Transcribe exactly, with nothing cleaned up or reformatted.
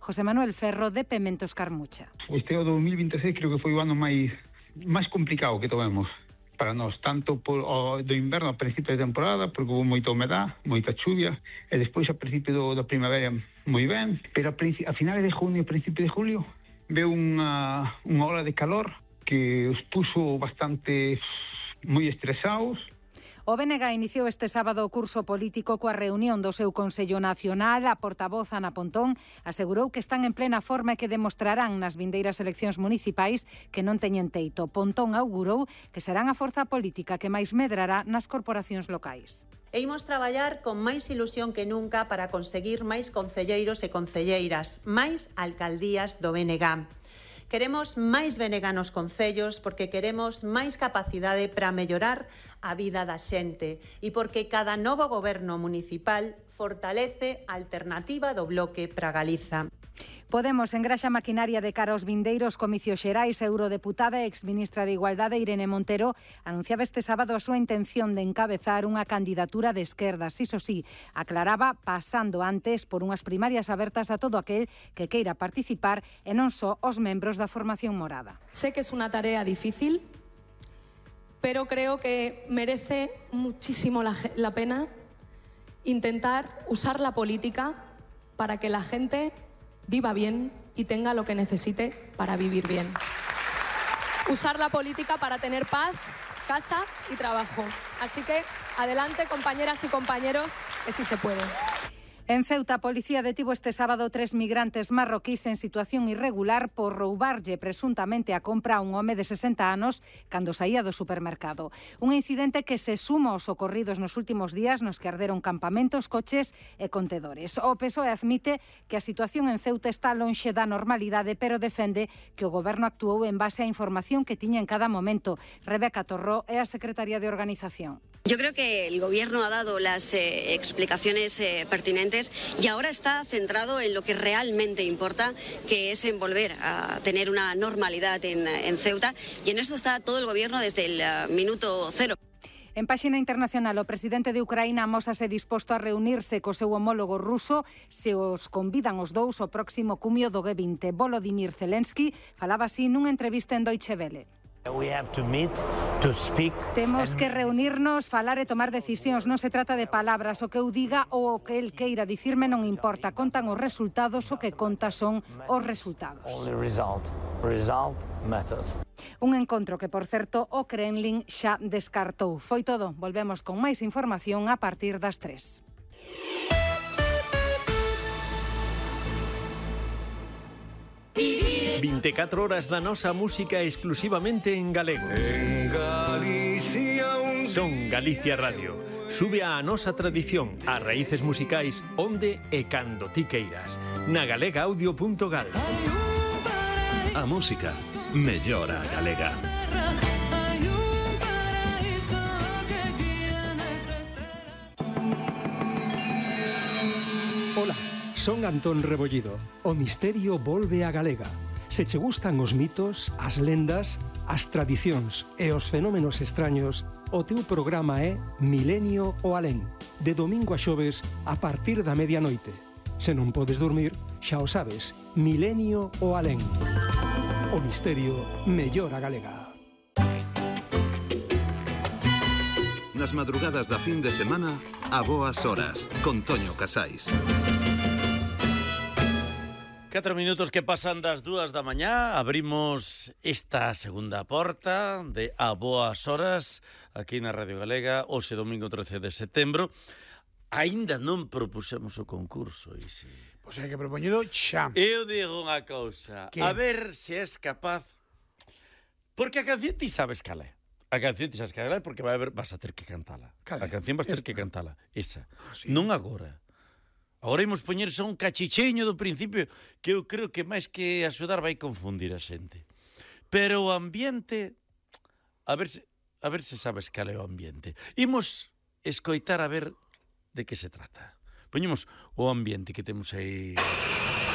José Manuel Ferro, de Pementos Carmucha. Este o dos mil vinte e seis creo que foi o ano máis máis complicado que tovemos para nós, tanto por, o, do inverno a principio de temporada, porque houve moita humedad, moita chuvia, e despois a principio do, da primavera moi ben, pero a, a finales de junio e principio de julio veu unha, unha ola de calor que os puso bastante moi estresados. O B N G iniciou este sábado o curso político coa reunión do seu Consello Nacional. A portavoz Ana Pontón asegurou que están en plena forma e que demostrarán nas vindeiras eleccións municipais que non teñen teito. Pontón augurou que serán a forza política que máis medrará nas corporacións locais. E imos traballar con máis ilusión que nunca para conseguir máis concelleiros e concelleiras, máis alcaldías do B N G. Queremos máis B N G nos concellos porque queremos máis capacidade para mellorar a vida da xente e porque cada novo goberno municipal fortalece a alternativa do Bloque para Galiza. Podemos engraxa maquinaria de cara aos vindeiros comicios xerais. A eurodeputada e exministra de Igualdade Irene Montero anunciaba este sábado a súa intención de encabezar unha candidatura de esquerdas. Iso sí, aclaraba pasando antes por unhas primarias abertas a todo aquel que queira participar e non só os membros da formación morada. Sé que es una tarea difícil, pero creo que merece muchísimo la, la pena intentar usar la política para que la gente viva bien y tenga lo que necesite para vivir bien. Usar la política para tener paz, casa y trabajo. Así que adelante, compañeras y compañeros, que sí se puede. En Ceuta, a policía detivo este sábado tres migrantes marroquís en situación irregular por roubarlle presuntamente a compra a un home de sesenta anos cando saía do supermercado. Un incidente que se suma aos ocorridos nos últimos días nos que arderon campamentos, coches e contedores. O P S O E admite que a situación en Ceuta está lonxe da normalidade, pero defende que o goberno actuou en base á información que tiña en cada momento. Rebeca Torró é a secretaria de Organización. Yo creo que el Gobierno ha dado las eh, explicaciones eh, pertinentes y ahora está centrado en lo que realmente importa, que es en volver a tener una normalidad en, en Ceuta, y en eso está todo el Gobierno desde el uh, minuto cero. En páxina internacional, o presidente de Ucraína amósase disposto a reunirse co seu homólogo ruso se os convidan os dous ao próximo cumio do G vinte. Volodymyr Zelensky falaba así nunha entrevista en Deutsche Welle. We have to meet, to speak. Temos que reunirnos, falar e tomar decisións. Non se trata de palabras. O que eu diga ou o que el queira dicirme non importa. Contan os resultados, o que conta son os resultados. Only result. Result matters. Un encontro que, por certo, o Kremlin xa descartou. Foi todo. Volvemos con máis información a partir das tres. vinte e catro horas da nosa música exclusivamente en galego. En Galicia un... Son Galicia Radio. Sube a nosa tradición, as raíces musicais onde e cando ti queiras. Na galega audio punto gal. A música mellora a galega. Hola, son Antón Rebollido. O misterio volve a galega. Se che gustan os mitos, as lendas, as tradicións e os fenómenos extraños, o teu programa é Milenio o Alén, de domingo a xoves a partir da medianoite. Se non podes dormir, xa o sabes, Milenio o Alén. O misterio mellora a galega. Nas madrugadas da fin de semana, a boas horas, con Toño Casais. Catro minutos que pasan das dúas da mañá. Abrimos esta segunda porta de A Boas Horas aquí na Radio Galega, hoxe domingo trece de setembro. Aínda non propuxemos o concurso, Isi. Pois hai que propoñelo xa. Eu digo unha cousa, a ver se és capaz, porque a canción ti sabes cal é. A canción ti sabes cal é porque vai haber, vas a ter que cantala. A canción vas a ter que cantala, esa. Ah, sí. Non agora. Agora imos poñer só un cachicheño do principio que eu creo que máis que axudar vai confundir a xente. Pero o ambiente, a ver se, a ver se sabes cal é o ambiente. Imos escoitar a ver de que se trata. Poñemos o ambiente que temos aí.